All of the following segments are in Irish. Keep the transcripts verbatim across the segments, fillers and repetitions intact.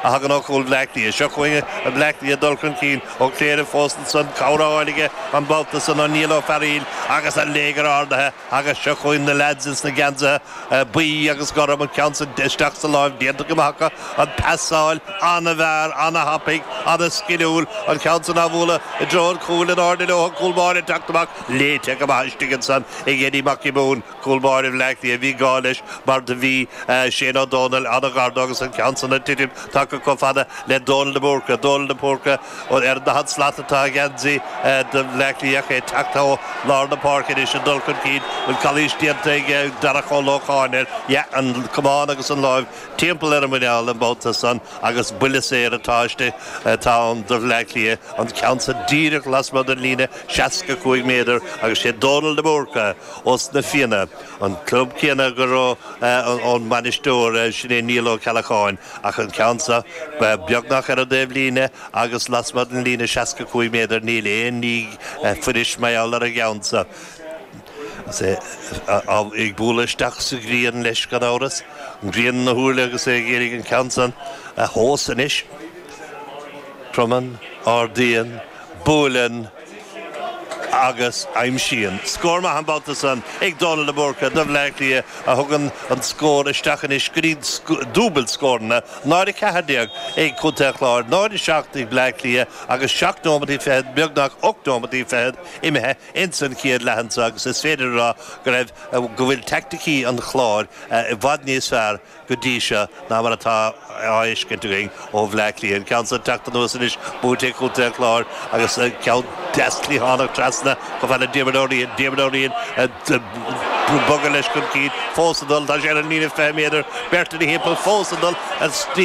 a thagann ó chúl Bhleá Cliath. Seo chugainn Bleá Cliath dul chun cinn Ó Cléire fós ansan cabhair á fháil aige an babhta san ó Niall Ó Fearaíl agus an léigear ardaithe agus seo chugainn na lads ins na geansaithe buí agus gorm an ceann san isteach sa láimh déanta go maith acu an pasáil an-mhear an-thapaidh an-sciliúil an ceann san á bhualadh i dtreo an chúil in airde leo an cúl báire ag teacht amach léite go maith istigh ansan ag Eddie Mac Giobúin cúl báire Bhleá Cliath bhí gá leis mar do bhí Shane Ó Dónaill an-ghar dó agus an ceann san ag titim tagtha chomh fada le Dónal de Búrca Dónal de Búrca ar an daichead slat atá a gheansaí do Bhleá Cliath é teacht ó lár na páirce anois ag dul chun cinn bhfuil calaois déanta ag Darach Ó Lócháin air yeah an camán agus an láimh timpeall ar an muineál an babhta san agus buille saor atá istigh atá ann do Bhleá Cliath an ceann san díreach lasmuigh den líne seasca cúig méadar agus sé Dónal de Búrca ós na Fianna an club céanna go raibh an bainisteoir sin é Niall Ó Ceallacháin ach an ceann seo beagnach ar an dtaobhlíne agus lasmuigh den líne seasca cúig méadar níl aon ní fuiris mar gheall ar an gceann seo. Is é ag bualadh isteach sa ghrian leis gan amhras, an ghrian ina shúile agus é ag iarraidh an ceann san a thomhas anois. Cromann, ardaíonn, buaileann agus aimsíonn. Scór maith an babhta san ag Dónal de Búrca do Bhleá Cliath a thugann an scór isteach anois go dtí dúbailt scóranna, náid a ceathair déag ag Contae an Chláir, náid a seacht ag Bleá Cliath agus seacht nóimeataí fichead, beagnach ocht nóimeataí fichead imithe ins an chéad leath anso agus is féidir a rá go raibh, go bhfuil teaicticí an Chláir i bhfad níos fearr go dtí seo ná mar atá á fheiscint againn ó Bhleá Cliath. An ceann seo ag teacht anuas anois, buaite ag Contae an Chláir agus ceann deas cliathánach trasna chomh fada le Diarmuid Ó Riain, Diarmuid Ó Riain ag bogadh leis chun cinn, fós ag dul, tá sé ar an líne fiche méadar, beirt ina thimpeall, fós ag dul,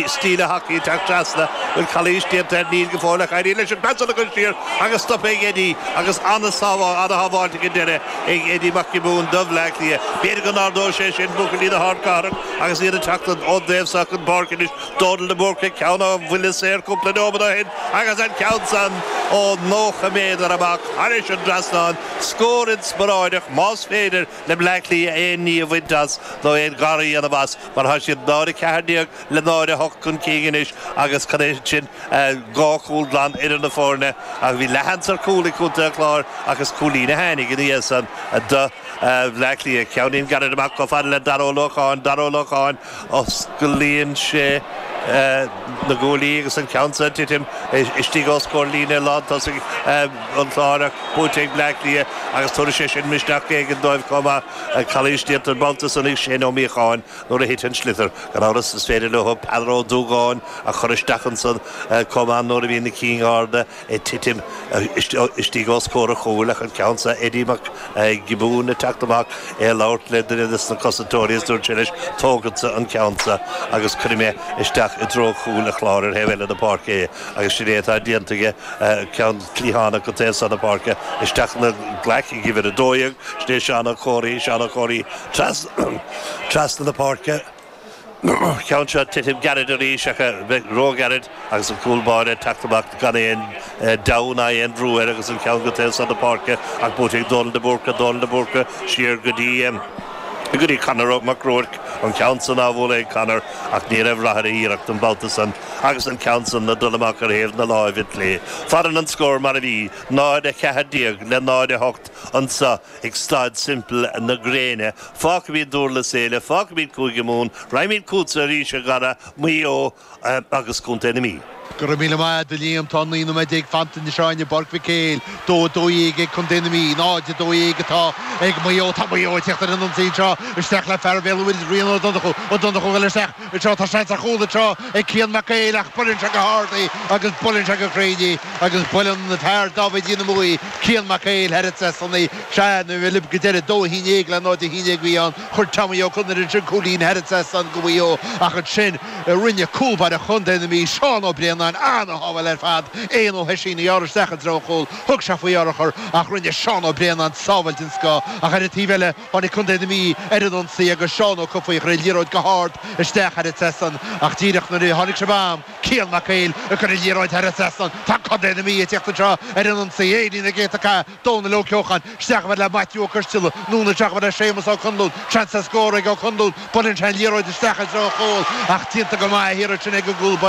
stíle hacaí ag teacht trasna, bhfuil calaois déanta air, níl go fóill ach éiríonn leis an pas san a chur siar agus stoptha ag Eddie agus an-sábháilte ag an deireadh ag Eddie Mac Giobúin do Bhleá Cliath. B'fhéidir go n-ardóidh sé sin buachaillí na hardchathrach agus iad ag teacht ón dtaobh seo den bpáirc anois. Dónal de Búrca, ceann ó bhuille saor cúpla nóiméad ó shin agus an ceann san ó nócha méadar amach thairis an dtrasnán. Scór inspioráideach más féidir le Bleá Cliath aon ní a bhaint as nó aon ghar a dhéanamh as mar tá siad náid a ceathair déag le náid a hocht chun cinn anois agus cad é sin dhá chúl glan idir na foirne ach bhí leathsheans ar chúl ag Contae an Chláir ach is cúilín a tháinig ina dhiaidh san do Bhleá Cliath. Ceainnín gairid amach chomh fada le Dara Ó Lócháin, Dara Ó Lócháin, osclaíonn sé na guaillí agus an ceann san ag titim istigh os comhair líne lántosaigh an Chláir ach buaite ag Bleá Cliath agus tabharfaidh sé sin misneach éigin dóibh chomh maith. Calaois déanta an babhta san ag Shane Ó Míocháin nuair a thit an sliotar. Gan amhras is féidir leo Peadar Ó Dúgáin a chur isteach ansan chomh maith nuair a bhíonn na cinn arda ag titim istigh os comhair an chúil ach an ceann seo Eddie Mac Giobúin ag teacht amach é ag labhairt le duine de na cosantóirí is dúirt sé leis tógfadsa an ceann seo agus cuirfidh mé isteach i dtreo chúl an Chláir ar thaobh eile na páirce é agus sin é atá déanta aige ceann cliathánach go taobh seo na páirce isteach ina ghlaic ag uimhir a dó dhéag sin é Seán Ó Comhraí Seán Ó Comhraí trasna na páirce. Ceann seo titim gairid arís ach róghairid agus an cúl báire ag teacht amach gan aon deabhadh ná aon bhrú air agus an ceann go taobh seo na páirce ach buaite ag Dónal de Búrca, Dónal de Búrca siar go dtí go dtí Conor Mac Ruairc, an ceann san á bhualadh ag Conor ach ní raibh rath ar a iarracht an babhta san agus an ceann san ag dul amach ar thaobh na láimhe clé. Fanann an scór mar a bhí, náid a ceathair déag le náid a hocht anseo ag Staid Semple na Gréine. Fágfaimid Dúrlas Éile, fágfaimid Cúige Mumhan, raghaimid chugatsa arís, a Dhara, Maigh Eo agus Contae na Mí. Go raibh míle maith agat, a Liam. Tá naoi nóiméad déag fanta anois againn i bPáirc Mhic Éil. Dó a dó dhéag ag Contae na Mí, náid a dó dhéag atá ag Maigh Eo. Tá Maigh Eo ag teacht ar an ionsaí anseo isteach le fear Bhéal an Mhuirthead, Rian Ó Donnchú. Ó Donnchú ag dul isteach anseo. Tá seans ar chúl anseo ag Cian Mac Éil ach buaileann sé go hard í agus buaileann sé go cruinn í agus buaileann fear Dáibhidí na Muaidhe, Cian Mac Éil, thar an trasnán í. Sea, nuair a bhí go deireadh, dó a haon déag le náid a haon déag a bhí ann. Chuir Tommy Ó Conaire ansin cúilín thar an trasnán do Mhaigh Eo ach ansin rinne cúlbáire chontae na Mí, Seán Ó Braonáin, ana-shábháil ar fad. Éanna Ó hOisín a ghearr isteach i dtreo an chúil. Thug sé faoi urchar ach rinne Seán Ó Braonáin sábháil den scoth. Ach ar an taobh eile tháinig contae na Mí ar an ionsaí agus Seán Ó Cofaigh a chuir an liathróid go hard isteach thar an trasnán ach díreach nuair a tháinig sé bam, Cian Mac Éil ag cur an liathróid thar an trasnán. Tá contae na Mí ag tíocht anseo ar an ionsaí. Éiríonn na gcéadta cath. Dónal Ó Ceocháin, isteach chomh fada le Maitiú Ó Coisteala, anonn isteach chomh fada le Séamus Ó Conluain, seans ar scór ag Ó Conluain, buaileann sé an liathróid isteach i dtreo an chúil ach déanta go maith thiar ansin ag an gcúl báire.